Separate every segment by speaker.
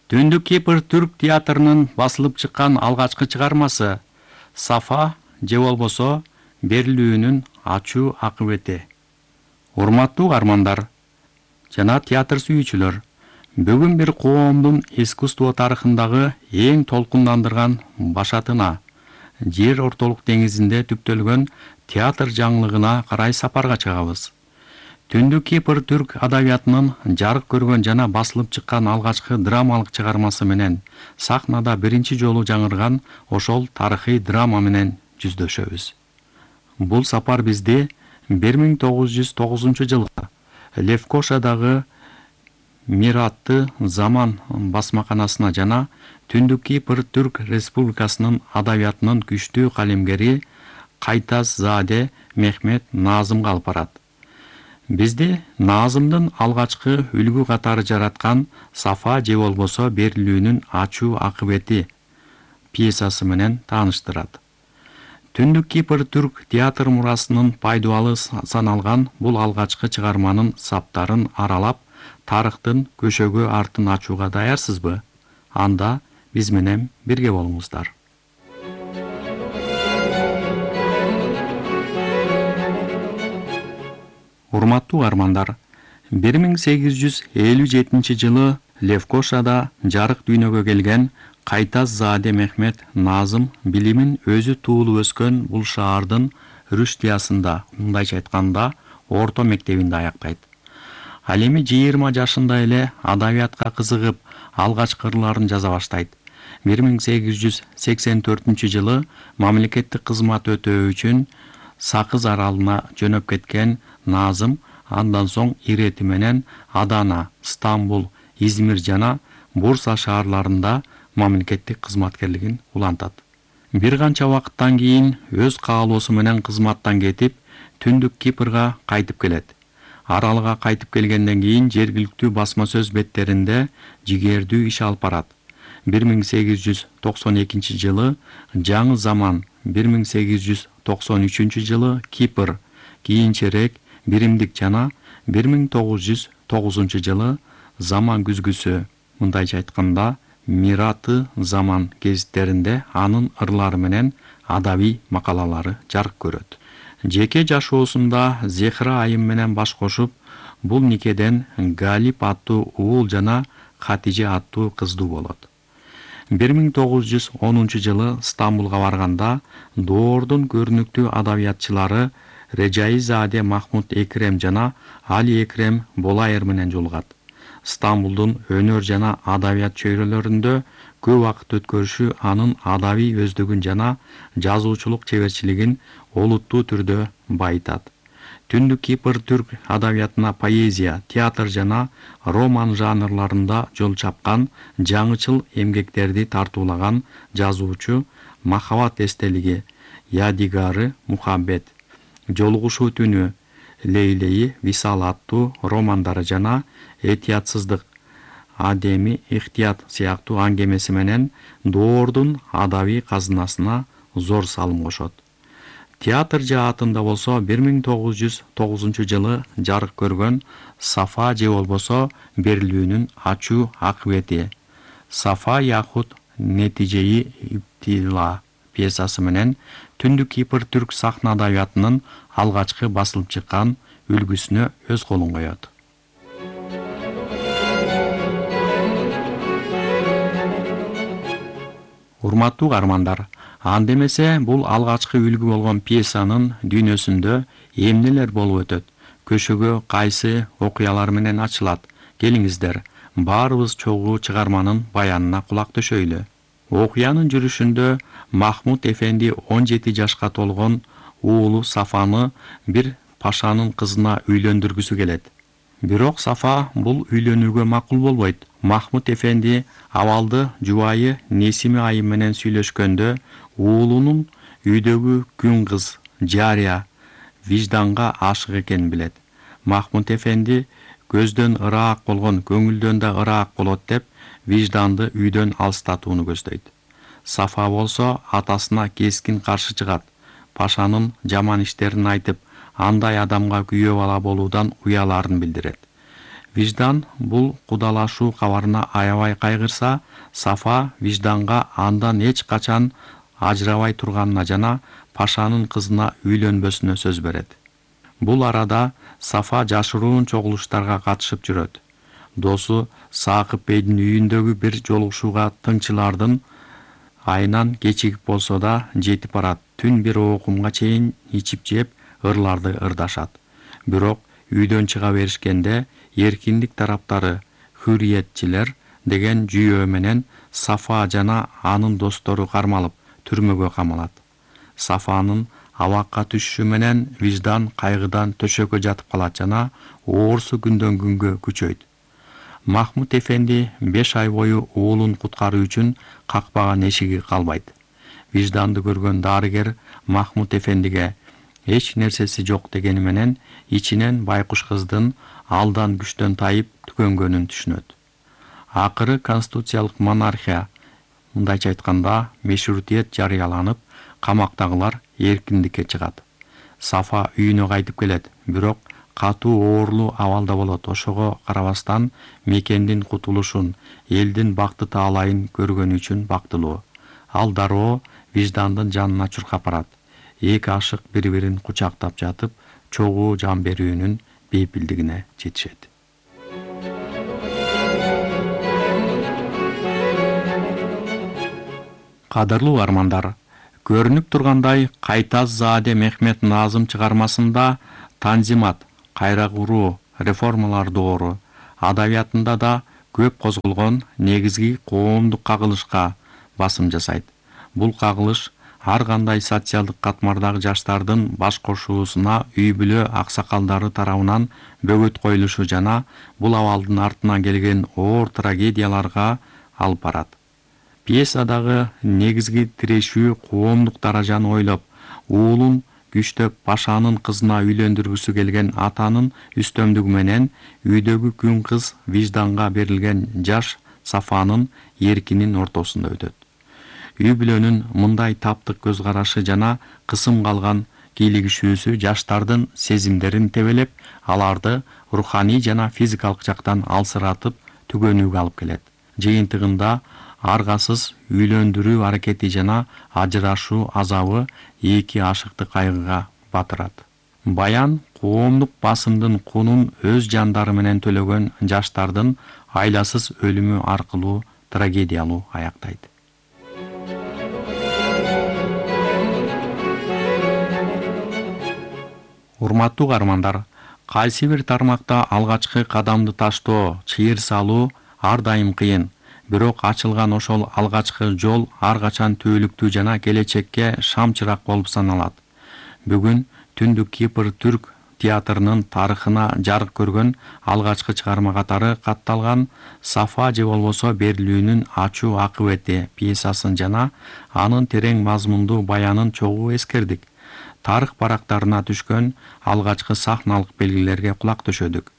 Speaker 1: Түндүк Кипр түрк театрынын басылып чыккан алгачкы чыгармасы Сафа же болбосо берилүүнүн ачуу акыбети. Урматтуу каармандар жана театр сүйүүчүлөр, бүгүн бир коомдун искусство тарыхындагы эң толкундандырган башатына, жер ортолук деңизинде түптөлгөн театр жаңылыгына карай сапарга чыгабыз. Түндүк Кипр түрк адабиятынын жарык көргөн жана басылып чыккан алгачкы драмалык чыгармасы менен сахнада биринчи жолу жаңырган ошол тарыхый драма менен жүздөшөбүз. Бул сапар бизди 1909-жылы Левкошадагы Миратты заман басмаканасына жана Түндүк Кипр түрк республикасынын адабиятынын күчтүү калемгери Кайтазаде Мехмет Назымга алып барат. Бизди Назымдын алгачкы үлгү катары жараткан Сафа же болбосо берилүүнүн ачуу акыбети пьесасы менен тааныштырат. Түндүк Кипр түрк театр мурасынын пайдубалы саналган бул алгачкы чыгарманын саптарын аралап, тарыхтын көшөгө артын ачууга даярсызбы? Анда биз менен бирге болуңуздар. Урматтуу каармандар, 1857-жылы Левкошада жарык дүйнөгө келген Кайтазаде Мехмет Назым билимин өзү туулуп өскөн бул шаардын Рүштиясында, мындайча айтканда, орто мектебинде аяктайт. Ал эми 20 жашында эле адабиятка кызыгып, алгачкы ырларын жаза баштайт. 1884-жылы мамлекеттик кызмат өтөө үчүн Сакыз аралына жөнөп кеткен Назым андан соң ирети менен Адана, Стамбул, Измир жана Бурса шаарларында мамлекеттик кызматкерлигин улантат. Бир канча убакыттан кийин өз каалоосу менен кызматтан кетип, Түндүк Кипрга кайтып келет. Аралга кайтып келгенден кийин жергиликтүү басма сөз беттеринде жигердүү иш алып барат. 1892-жылы Жаңы заман, 1893-жылы Кипр, кийинчерээк Биримдик жана 1909-жылы Заман күзгүсү, мындайча айтканда Мираты заман гезиттеринде анын ырлары менен адабий макалалары жарык көрөт. Жеке жашоосунда Зехра айым менен баш кошуп, бул никеден Галип аттуу уул жана Хатиже аттуу кыздуу болот. 1910-жылы Стамбулга барганда доордун көрүнүктүү адабиятчылары Режаизаде Махмуд Экрем жана Али Экрем Болайыр менен жолугат. Стамбулдун өнөр жана адабият чөйрөлөрүндө көп убакыт өткөрүшү анын адабий өздүгүн жана жазуучулук чеберчилигин олуттуу түрдө байытат. Түндүк Кипр түрк адабиятына поэзия, театр жана роман жанрларында жол чапкан, жаңычыл эмгектерди тартуулаган жазуучу Махабат эстелиги, Ядигары Мухаббет, Жолугушуу түнү, Лейлеи Висал аттуу романдары жана Этиятсыздык, Адеми Ихтият сыяктуу аңгемеси менен доордун адабий казынасына зор салым кошот. Театр жаатында болсо 1909-жылы жарык көргөн Сафа же болбосо берилүүнүн ачуу акыбети Сафа яхут Нетижеи Иптила пьесасы менен Түндүк Кипр түрк сахна адабиятынын алгачкы басылып чыккан үлгүсүнө өз колун коет. Урматтуу каармандар, анда эмесе бул алгачкы үлгү болгон пьесанын дүйнөсүндө эмнелер болуп өтөт? Көшөгө кайсы окуялар менен ачылат? Келиңиздер, баарыбыз чогуу чыгарманын баянына кулак төшөйлү. Окуянын жүрүшүндө Махмуд эфенди 17 жашка толгон уулу Сафаны бир пашанын кызына үйлөндүргүсү келет. Бирок Сафа бул үйлөнүүгө макул болбойт. Махмуд эфенди абалды жубайы Несиме айым менен сүйлөшкөндө уулунун үйдөгү күн кыз Жария вижданга ашык экенин билет. Махмуд эфенди көздөн ыраак болгон көңүлдөн да ыраак болот деп вижданды үйдөн алыстатууну көздөйт. Сафа болсо атасына кескин каршы чыгат. Пашанын жаман иштерин айтып, андай адамга күйөө бала болуудан уяларын билдирет. Виждан бул кудалашуу кабарына аябай кайгырса, Сафа вижданга андан эч качан ажырабай турганына жана Пашанын кызына үйлөнбөсүнө сөз берет. Бул арада Сафа жашыруун чогулуштарга катышып жүрөт. Досу Саакып бейдин үйүндөгү бир жолугушууга тыңчылардын айынан кечигип болсо да жетип барат. Түн бир окумга чейин ичип жеп ырларды ырдашат. Бирок үйдөн чыга беришкенде эркиндик тараптары Хүрриетчилер деген жүйөө менен Сафа жана анын достору кармалып түрмөгө камалат. Сафанын абакка түшүшү менен Виждан кайгыдан төшөккө жатып калат жана оорусу күндөн күнгө күчөйт. Махмут эфенди 5 ай бою уулун куткаруу үчүн какпаган эшиги калбайт. Вижданды көргөн дарыгер Махмут эфендиге эч нерсеси жок дегени менен ичинен байкуш кыздын алдан күчтөн тайып түкөнгөнүн түшүнөт. Акыры конституциялык монархия, мындайча айтканда, мешрутиет жарыяланып, камактагылар эркиндикке чыгат. Сафа үйүнө кайтып келет, бирок катуу оорлуу абалда болот. Ошого карабастан мекендин кутулушун, элдин бакты таалайын көргөнү үчүн бактылуу. Ал дароо Виждандын жанына чуркап барат. Эки ашык бири-бирин кучактап жатып, чогуу жан берүүнүн бейпилдигине жетишет. Кадырлуу армандар, көрүнүп тургандай Кайтаз Зааде Мехмет Назым чыгармасында танзимат, кайра куруу, реформалар доору адабиятында да көп козголгон негизги коомдук кагылышка басым жасайт. Бул кагылыш ар кандай социалдык катмардагы жаштардын баш кошуусуна үй бүлө аксакалдары тарабынан бөгөт коюлушу жана бул абалдын артынан келген оор трагедияларга алып барат. Пьесадагы негизги тирешүү коомдук даражаны ойлоп, уулун күчтөп Пашанын кызына үйлөндүргүсү келген атанын үстөмдүгү менен үйдөгү күн кыз Вижданга берилген жаш Сафанын эркинин ортосунда өтөт. Үй бүлөнүн мындай таптык көз карашы жана кысым калган кийлигишүүсү жаштардын сезимдерин тебелеп, аларды руханий жана физикалык жактан алсыратып түгөнүүгө алып келет. Жыйынтыгында аргасыз үйлөндүрүү аракети жана ажырашуу азабы эки ашыкты кайгыга батырат. Баян коомдук басымдын кунун өз жандары менен төлөгөн жаштардын айласыз өлүмү аркылуу трагедиялуу аяктайт. Урматтуу каармандар, кайсы бир тармакта алгачкы кадамды таштоо, чыйыр салуу ар дайым кыйын. Бирок ачылган ошол алгачкы жол ар качан түбөлүктүү жана келечекке шам чырак болуп саналат. Бүгүн Түндүк Кипр түрк театрынын тарыхына жарык көргөн алгачкы чыгарма катары катталган Сафа же болбосо берилүүнүн ачуу акыбети пьесасын жана анын терең мазмундуу баянын чогуу эскердик. Тарых барактарына түшкөн алгачкы сахналык белгилерге кулак төшөдүк.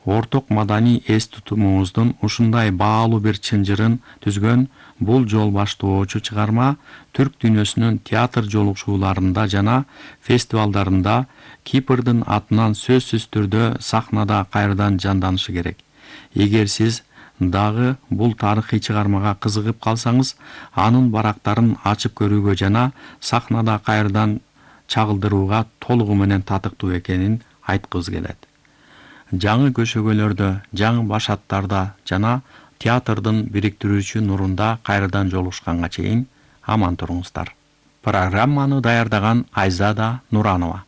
Speaker 1: Орток маданий эс тутумубуздун ушундай баалуу бир чынжырын түзгөн бул жол баштоочу чыгарма түрк дүйнөсүнүн театр жолугушууларында жана фестивалдарында Кипрдын атынан сөзсүз түрдө сахнада кайрадан жанданышы керек. Эгер сиз дагы бул тарыхый чыгармага кызыгып калсаңыз, анын барактарын ачып көрүүгө жана сахнада кайрадан чагылдырууга толугу менен татыктуу экенин айткыбыз келет. Жаңы көшөгөлөрдө, жаңы башаттарда жана театрдын бириктирүүчү нурунда кайрадан жолугушканга чейин аман туруңуздар. Программаны даярдаган Айзада Нуранова.